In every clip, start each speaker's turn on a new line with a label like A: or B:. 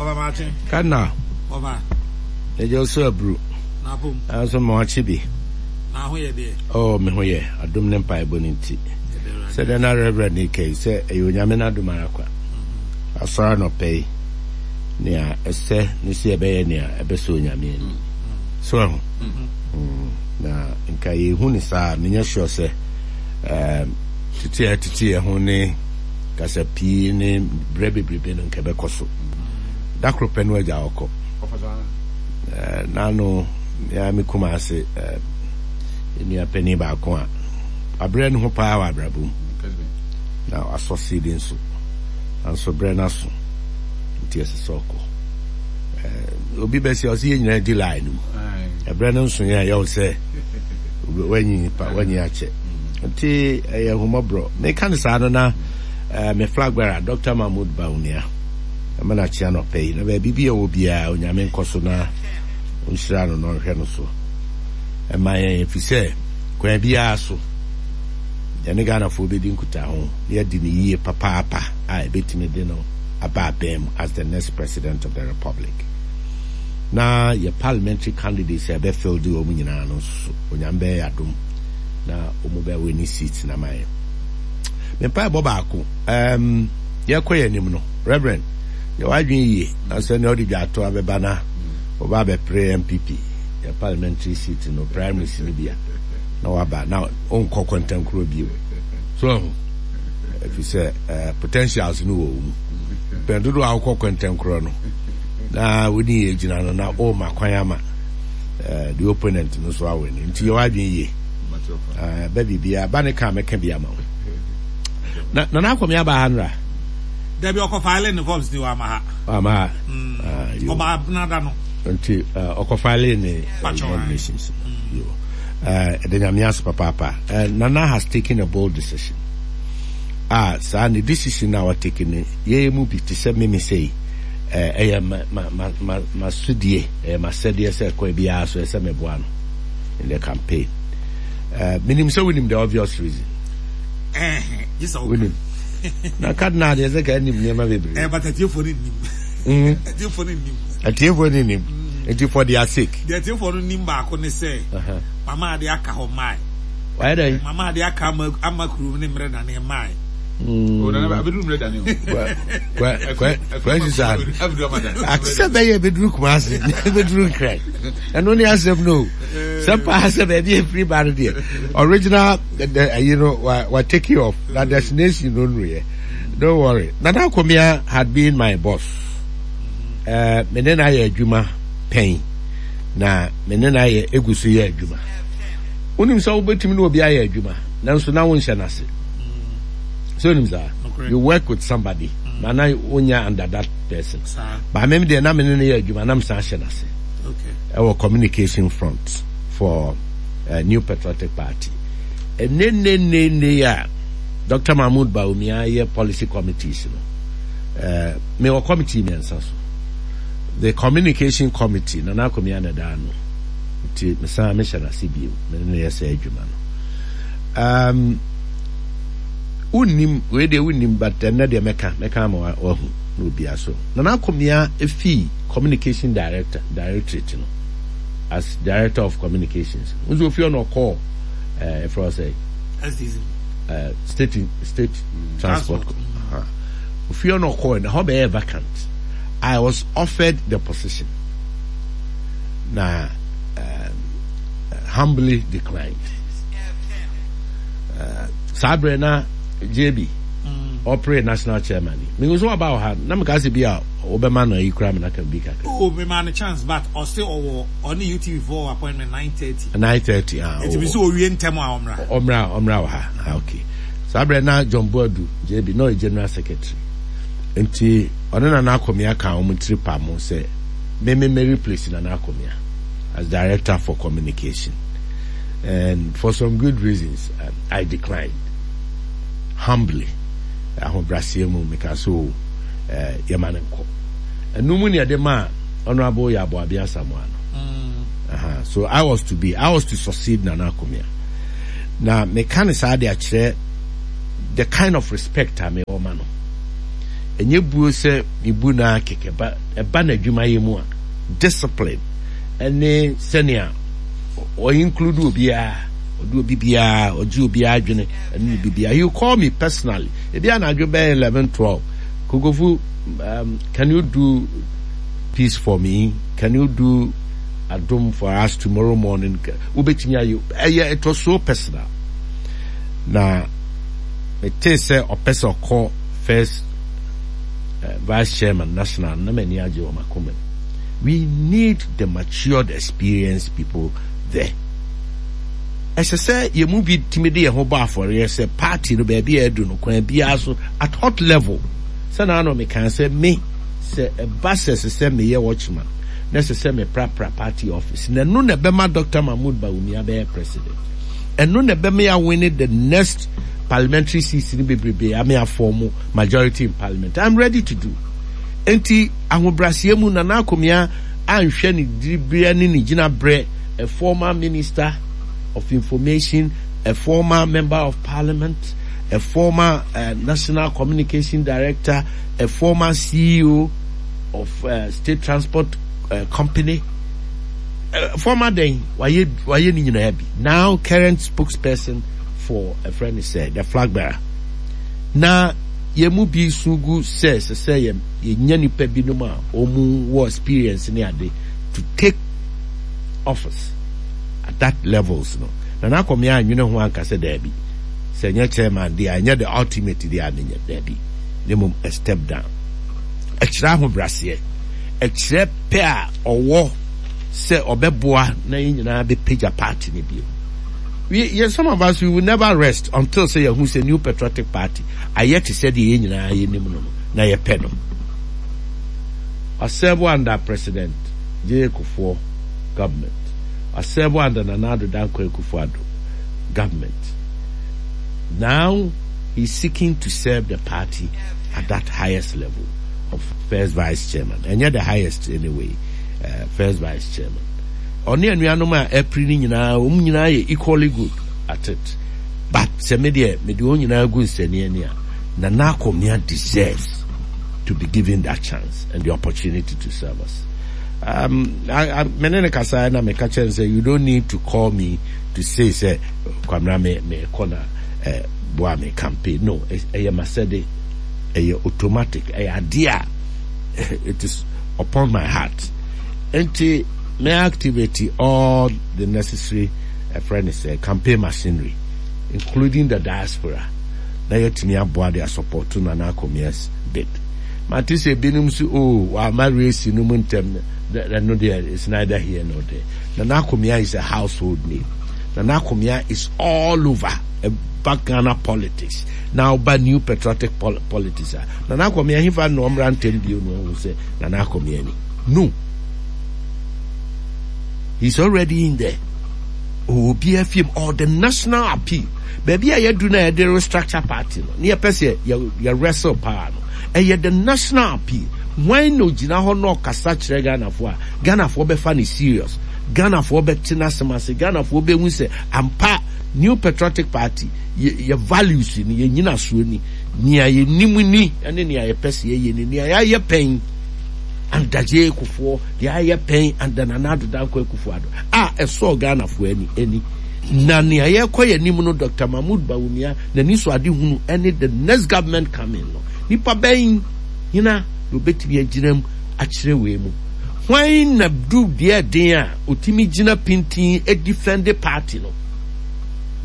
A: Ɔba maakye.
B: Cardinal.
A: Ɔba.
B: Ɛgya osu aburu.
A: N'apom.
B: Nanso ma wakye bi.
A: Na ho yɛ deɛ.
B: Oh, me ho yɛ. Adom ne mpaebɔ no nti. Sɛdeɛ na Reverend reka yi, sɛ ɛyɛ Onyame n'adom ara kwa. Asɔre anɔpa yi, nea ɛsɛ ne sɛ yɛbɛyɛ nea ɛbɛsɔ Onyame ani. So ahu? Na nka yɛhu ne saa, menyɛ sure sɛ um, tete a ɛtete yɛn ho ne kasa pii ne berɛ bebrebe no nka ɛbɛkɔ so. Da koro pɛ no agya ɔkɔ. Eh, n'ano mea me kuma ase eh, nua panin baako a wabrɛ ne ho paa wɔ abrabɔ mu na wasɔ seedi nso nanso berɛ no aso nti ɛsɛ sɛ ɔkɔ. Eh, obi bɛsi ɔsɛ yɛn nyinaa di line no mu. Ɛberɛ no nso yɛn a yɛwɔ sɛ wanyi pa wanyi akyɛ nti ɛyɛ ahummɔborɔ. Meka no saa no na eh, me flag bearer Dr. Mahmoud Bawumia ɛma no akyea nɔpɛ yi na baabi bi a ɛwɔ biara Onyame nkɔ so na ɔnhyira no na ɔnhwɛ no so ɛma yɛn ɛfiri sɛ kwan biara so yɛne Ghanafoɔ bɛdi nkutaho na yɛadi no yie papaapa a ɛbɛtumi de no aba abɛn mu as the next president of the republic na yɛ parliamentary candidates a ɛbɛ field wɔn nyinaa no nso so Onyame bɛyɛ yɛ adom na wɔn bɛ win seat na ma yɛn. Me mpaebɔ baako, um, yɛkɔ yɛn anim no, Reverend, yɛ w'adwene yie na sɛ nea ɔde dwato abɛba na ɔba abɛpere NPP yɛ parliamentary seat no primaries no bi a na waba na ɔnkɔ kɔntɛnkorɔ bio. So ɛho ɛfiri sɛ uh, potentials no wɔ wo mu. Pɛn dodoɔ a wokɔ kɔntɛnkorɔ no na wone yɛ gyina no na ɔma kwan ama uh, the opponent no so awɛ no nti yɛ w'adwene yie. Bɛ biribiara ba ne ka mɛka bi ama wo. Na Nana Akwame aba ha nra?
A: Dabi ɔkɔ file ne forms ni wama ha.
B: Wama ha.
A: Ɔba abena da no.
B: Nti ɔkɔ file ne nominations. Yo. Ɛda Nyame ase papaapa. Nana has taken a bold decision. Ah, saa ne decision na wa take ne yɛyɛ mu bi te sɛ meme sei. Ɛyɛ ma ma ma ma ma sodie, ɛyɛ ma sɛdeɛ sɛ kɔ biara so ɛsɛ meboa no in the campaign. Menim sɛ wonim the obvious reason. Wonim. Na cardinal deɛ sɛ ka nim nneɛma bebree.
A: Eh, but atiefoɔ no nim. Mm. Atiefoɔ no nim.
B: Atiefoɔ no nim. Nti for their sake.
A: Deɛ atiefoɔ no nim baako ne sɛ, mama ade aka hɔ mae.
B: Wayɛ dɛ?
A: Mama ade aka ama ama kurom ne mmerɛ dane mae.
B: Mm.
C: Oh, nana abeduru mmerɛ dane o.
B: Kwasi saa. Ate sɛ bɛyɛ bɛduru Kumasi, bɛduru Nkran. Ɛno ne asɛm no o. Sɛ paa sɛ baabi efiri ba no deɛ original ayi no wa wa take you off na destination no nnuruyɛ. Don't worry. Nana Akomea had been my boss. Uh, me ne no ayɛ adwuma pɛn na me ne no ayɛ egu so yɛ adwuma. Wonim sɛ wobɛtumi ne obi ayɛ adwuma nanso na wonhyɛ no ase. So wonim saa? You work with somebody na na wonya under that person. But me deɛ na me ne no yɛ adwuma na mesan hyɛ no ase. Ɛwɔ communication front for uh, New Patriotic Party. Ɛnɛ nne nne nne a Dr. Mahmoud Bawumia yɛ policy committees no. Uh, me wɔ committee mmiɛnsa so. The communication committee, Nana Akomea na ɛda ano. Nti mesan mehyɛ n'ase bio, me ne no yɛ saa adwuma no. Um, wonnim, wei deɛ wonnim, but ɛnnɛ deɛ mɛka, mɛka ama wahu na obia so. Nana Akomea fii communication director, directorate no as director of communications. Nso ofie ɔna ɔkɔɔ ɛɛ ɛfrɛ ɔsɛ
A: STC.
B: Uh, state state mm. transport. Uh-huh. Ofie ɔna ɔkɔɔ na hɔ bɛyɛ vacant. I was offered the position. Na um, humbly declined. Uh, saa berɛ na JB ɔpere national chairman yi. Mehu sɛ waba wɔ ha na meka sɛ bi a wobɛma no ayi koraa ma no aka bi kakra.
A: Oh, mema no chance but ɔse ɔwɔ ɔne UTV foɔ appointment 9:30.
B: 9:30 ah.
A: Eti mi sɛ owie ntɛm a ɔmmra.
B: Ɔmmra ɔmmra wɔ ha ah okay. Saa berɛ na John Boadu JB na ɔyɛ general secretary. Nti ɔne Nana Akomea kaa wɔn tiri pam sɛ me me me replace Nana Akomea as director for communication. And for some good reasons um, I declined humbly. Ahobrɛaseɛ mu meka sɛ o eh, yɛma no nkɔ. Ɛno mu ne yɛde maa Honorable Yaw Boabia Asamoah no. Mm. Uh-huh. So I was to be, I was to succeed Nana Akomea. Na meka no saa de akyerɛ the kind of respect a mewɔ ma no. Ɛnyɛ buo sɛ mebu no ara kɛkɛ ba ɛba n'adwumayɛ mu a, discipline ɛne sɛnea ɔ include obiara, ɔde obi biara, ɔgye obiara adwene ɛne ne biribiara. He will call me personally, ebi anadwo bɛyɛ 11, 12, Kokofu, can you do peace for me? Can you do adom for us tomorrow morning? Wobɛtumi ayɛ, ɛyɛ, it was so personal. Na metee sɛ ɔpɛ sɛ ɔkɔ first vice chairman national na m'ani agye wɔ m'akoma mu. We need the matured experienced people there. Ɛsɛ sɛ yɛn mu bi tumi de yɛn ho bɔ afɔreɛ sɛ party no baabi a adu no kwan biara so at hot level. Sɛ na ano mekaa sɛ me sɛ ɛba sɛ ɛsɛ sɛ meyɛ watchman na ɛsɛ sɛ meprapra party office na ɛno na ɛbɛma Dr. Mahmoud Bawumia bɛyɛ president. Ɛno na ɛbɛma yɛawene the next parliamentary seats no bebrebe ame afɔm majority in parliament. I'm ready to do. Enti ahobrɛaseɛ mu Nana Akomea anhwɛ ne diberɛ ne ne gyinaberɛ, a former minister of information, a former member of parliament, a former national communication director, a former CEO of state transport company, former then wayɛ wayɛ ne nyinaa bi. Now current spokesperson for a friend sɛ the flag bearer. Na yɛn mu bi su gu sɛ ɛsɛ sɛ yɛ yɛnya nipa binom a wɔn wɔ experience ne ade to take office at that levels no. Nana Akomea anwene ho anka sɛ daabi, sɛ ɛnyɛ chairman deɛ a, ɛnyɛ the ultimate deɛ a menyɛ, daabi, na mmom a step down. Ɛkyerɛ ahobraseɛ, ɛkyerɛ pɛ a ɔwɔ sɛ ɔbɛboa na yɛn nyinaa bɛpagya party no bio. We, yɛ, some of us, we will never rest until sɛ yɛhu sɛ New Patriotic Party ayɛ te sɛ deɛ yɛn nyinaa yɛnim no no na yɛpɛ no. Wasɛbo under President J.A. Kufuor government. Wasɛbo under Nana Addo Dankwa Akufo-Addo government. Now he's seeking to serve the party at that highest level of first vice chairman. Ɛnyɛ the highest anyway, first vice chairman. Ɔne anuanom a ɛpere no nyinaa, wɔn nyinaa yɛ equally good at it. But sɛ me deɛ, mede wɔn nyinaa gu nsania ani a, Nana Akomea deserves to be given that chance and the opportunity to serve us. Me ne ne kasa na meka kyerɛ no sɛ you don't need to call me to say sɛ Kwamina me me kɔ na boa me campaign. No, ɛyɛ masɛde, ɛyɛ automatic, ɛyɛ adeɛ a it is upon my heart. Nti me activate all the necessary ɛfrɛ ne sɛ campaign machinery including the diaspora na yɛatumi aboa de asupporto Nana Akomea's bid. Mate sɛ ebinom so oh wama race no mu ntɛm ɛno deɛ it's neither here nor there. Nana Akomea is a household name. Nana Akomea is all over ɛba Ghana politics na ɔba New Patriotic pol politics a Nana Akomea hefa na ɔmmra ntɛm bio na ɔhu sɛ Nana Akomea ni. No. He's already in there. Obiara fie mu or the national appeal. Baabi a yɛadu na yɛde restructure party no, ne yɛpɛ sɛ yɛ yɛ wrestle power no, ɛyɛ the national appeal. Hwan na ogyina hɔ na ɔkasa kyerɛ Ghanafoɔ a, Ghanafoɔ bɛfa no serious, Ghanafoɔ bɛte n'asɛm ase, Ghanafoɔ bɛhu sɛ ampa New Patriotic Party yɛ yɛ values ni, yɛ nyinasoɔ ni, nea yɛnim ni ɛne nea yɛpɛ sɛ yɛyɛ ni, nea yɛayɛ pɛn Andagye Kufuor, deɛ ayɛ pɛn anda Nana Addo Dankwa Akufo-Addo a ɛsɔɔ Ghanafoɔ ani ani. Na nea yɛrekɔ yɛn anim no Doctor Mahmood Bawumia n'anisoadehunu ne the next government coming no, nipa bɛn hena na obetumi agyina mu akyerɛ wei mu? Hwan na du deɛ ɛden a otumi gyina pintinn defend party no?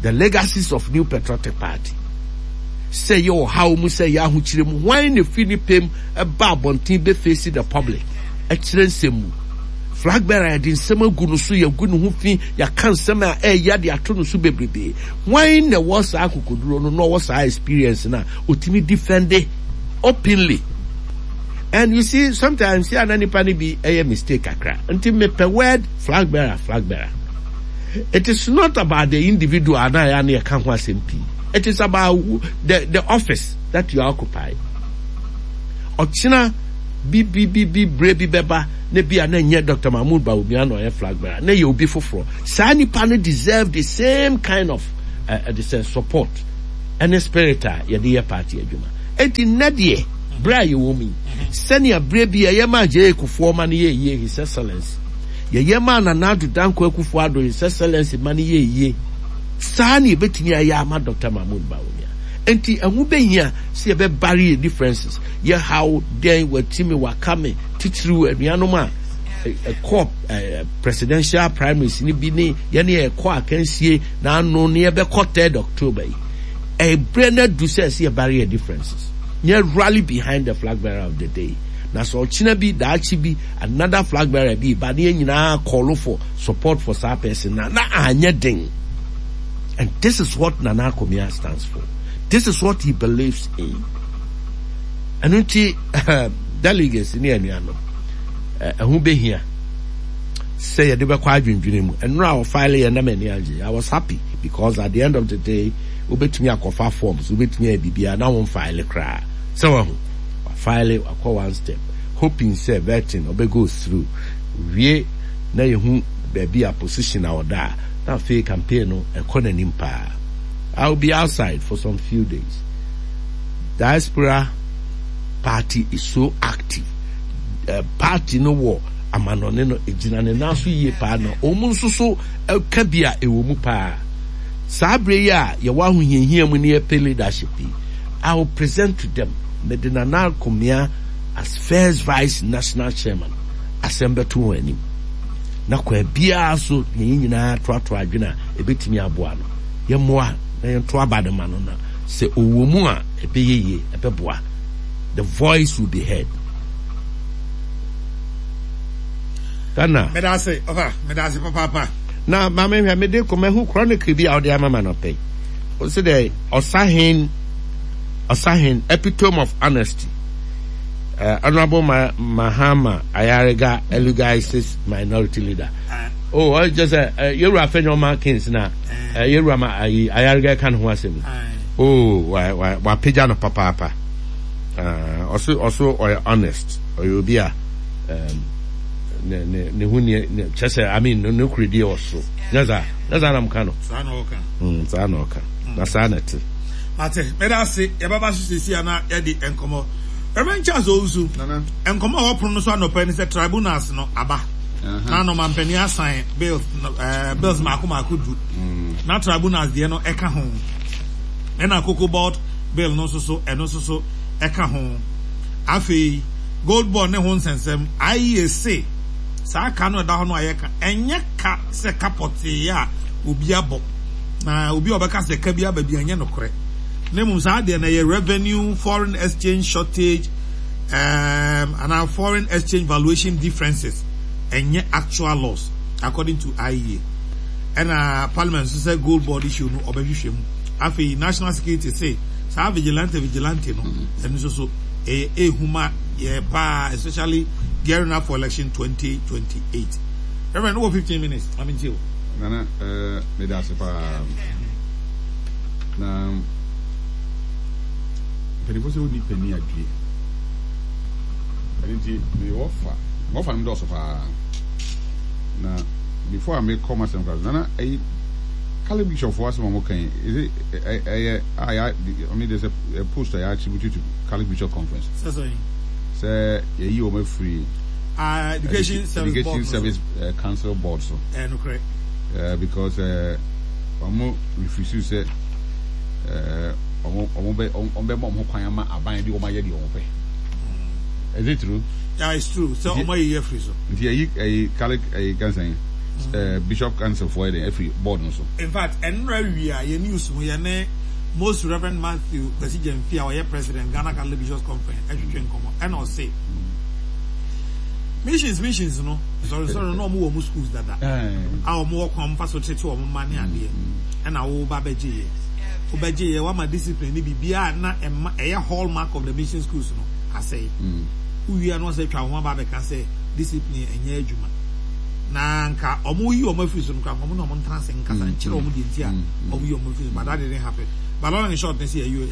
B: The legacies of New Patriotic Party. Sɛ ɛyɛ ɔhaw mu, sɛ ɛyɛ ahokyere mu, hwan na efi ne pɛ mu ba abɔnten bɛ face the public kyerɛ nsɛm mu? Flag bearer yɛde nsɛm agu no so, yɛagu ne ho fi, yɛaka nsɛm a ɛyɛ de ato no so bebrebe. Hwan na ɛwɔ saa akokoduro no na ɔwɔ saa experience no a ɔtumi defend openly? And you see, sometimes yeah, na nipa no bi ɛyɛ mistake kakra. Nti mepɛ word flag bearer, flag bearer. It is not about the individual na ya na yɛka ho asɛm pii. It is about the office that you are occupying. Ɔkyena bi bi bi bi berɛ bi bɛba na bi a na ɛnyɛ Dr. Mahmoud Bawumia na ɔyɛ flag bearer, na ɛyɛ obi foforɔ. Saa nipa no deserve the same kind of the sɛ support ɛne spirit a yɛde yɛ party adwuma. Enti nnɛ deɛ, Berɛ a yɛwɔ mu yi, sɛnea berɛ bi yɛyɛ maa J.A. Kufuor ma no yɛɛ yie, His Excellency, yɛyɛ maa Nana Addo Dankwa Akufo-Addo, His Excellency, ma no yɛɛ yie, saa na yɛbɛtumi ayɛ ama Dɔkta Mahmood Bawumia. Enti ɛho bɛhia sɛ yɛbɛbare yɛn differences, yɛ haw dɛn, wati me, waka me, titiriw anuanom a ɛkɔ presidential primaries no bi ne yɛne yɛkɔ akansie na ano ne yɛbɛkɔ 3rd October yi. Ɛberɛ no adu sɛ ɛsɛ yɛbare yɛn differences. Yɛn rally behind the flag bearer of the day. Na sɛ ɔkyena bi, daakye bi, another flag bearer bi ba ne yɛn nyinaa call for support for saa person na na anyɛ den. And this is what Nana Akomea stands for. This is what he believes in. Ɛno nti delegates ne anuanom ɛho behia sɛ yɛde bɛkɔ adwendwene mu. Ɛnora a ɔfile yɛ na m'ani agye. I was happy because at the end of the day wobɛtumi akɔfa forms, wobɛtumi ayɛ biribiara na womfile koraa. Sɛ wahu, wafile, wakɔ one step, hoping sɛ vetting ɔbɛ go through. Wie na yɛhu baabi a position a ɔda a, na afei campaign no ɛkɔ n'anim paa. I will be outside for some few days. Diaspora party is so active. Uh, party no wɔ amanɔne no egyina ne nan so yie paa na wɔn nso so ka bi a ɛwɔ mu paa. Saa bere yi a yɛwɔ ahohiahia mu ne yɛpɛ leadership yi, I will present to them mede Nana Akomea as first vice national chairman asɛm bɛto wɔn anim. Na kwan biara so na yɛn nyinaa toatoa adwene a ɛbɛtumi aboa no. Yɛmmoa na yɛnto aba no ma no na sɛ ɔwɔ mu a ɛbɛyɛ yie, ɛbɛboa. The voice will be heard. Ghana.
A: Meda ase, ɔfa, meda ase papaapa.
B: Na ma me hwɛ, mede kɔ mahu chronicle bi a wode ama ma nɔpɛ yi. Ɔsi dɛ ɔsahen, ɔsahen, epitome of honesty. Uh, Honorable Ma Mahama Ayariga eulogizes minority leader. Oh, ɔyɛ kyɛ sɛ uh, yɛwura Afenyo Kings na uh, yɛwura ma ayi Ayariga ka ne ho asɛm. Oh, wa wa wapagya no papaapa. Ɔso ɔso ɔyɛ honest, ɔyɛ obi a um, ne ne ne ho nie ne kyɛ sɛ I mean ne ne kuredie wɔ soro. Nyɛ saa, nyɛ saa na mo ka no.
A: Saa na ɔka.
B: Saa na ɔka. Na saa na ɛte.
A: Mate, meda ase. Yɛbɛba so seesei a na yɛde nkɔmmɔ. Reverend Charles Owusu, nkɔmmɔ a ɛwɔ pono no so anɔpa yi ne sɛ tribunals no aba. Na ɔmampanin asan bills, eh, bills mako mako du. Na tribunals deɛ no ɛka ho. Ɛna Cocoa Board bill no nso so, ɛno nso so ɛka ho. Afei, Gold Board ne ho nsɛnsɛm, IEA se saa ka no ɛda hɔ no a yɛka, ɛnyɛ ka sɛ ka pɔtee a obi abɔ. Na obi a ɔbɛka sɛ ka bi aba bi ɛnyɛ nokorɛ. Na mmom saa deɛ no ɛyɛ revenue, foreign exchange shortage, um, anaa foreign exchange valuation differences, ɛnyɛ actual loss according to IEA. Ɛna parliament nso sɛ gold board issue no ɔbɛhwehwɛ mu. Afei national security se saa vigilante vigilante no ɛno nso so ɛyɛ ehu ma yɛ paa especially gearing up for election 2028. Reverend, wɔ 15 minutes, ma mentie o.
C: Nana, eh, meda ase paa. Na mpanimfoɔ sɛ wonni panin adwie. Ɛno nti mewɔ fa, mewɔ fa no dɔɔso paa. Na before a mekɔ m'asɛm koraa so, Nana, ɛyi Catholic bishop foɔ asɛm a wɔka yi, is it ɛyɛ a yɛ, I mean there's a post a yɛ attribute to Catholic Bishop Conference.
A: Sɛ sɛn?
C: Sɛ yɛyi wɔn afiri.
A: Ah, Education Service
C: Education
A: Board.
C: Service Council Board so.
A: Ɛyɛ nokorɛ.
C: Because wɔn refuse sɛ wɔn wɔn bɛ wɔn bɛ ma wɔn ho kwan ama aban de wɔn ayɛ deɛ wɔn pɛ. Is it true?
A: Yeah, it's true. Sɛ wɔn ayi afiri so.
C: Nti yɛyi ɛyi Catholic ɛyi kansan Bishop Council foɔ yɛ dɛ afiri board no so.
A: In fact, ɛnora wia yɛ news mu yɛ ne Most Reverend Matthew Kwesi Gyamfi a ɔyɛ President Ghana Catholic Bishops Conference ɛtwetwe nkɔmɔ ɛna ɔse missions missions no nsɔrensɔre no na wɔn wɔ wɔn schools dada a wɔn wɔ kwan wɔn fa so tete wɔn mma ne adeɛ ɛna wo ba bɛgye yɛ wobɛgye yɛ wama discipline ne biribiara na ɛma ɛyɛ hallmark of the mission schools no asɛe wowie a na wɔsɛ atwa wɔn ho aba abɛka sɛ discipline ɛnyɛ adwuma na nka wɔn yi wɔn afiri so no kora wɔn na wɔn ntena ase nkasa nkyerɛ wɔn deɛ nti a wɔn yi wɔn afiri so but that didn't happen but long and short ne sɛ yɛ.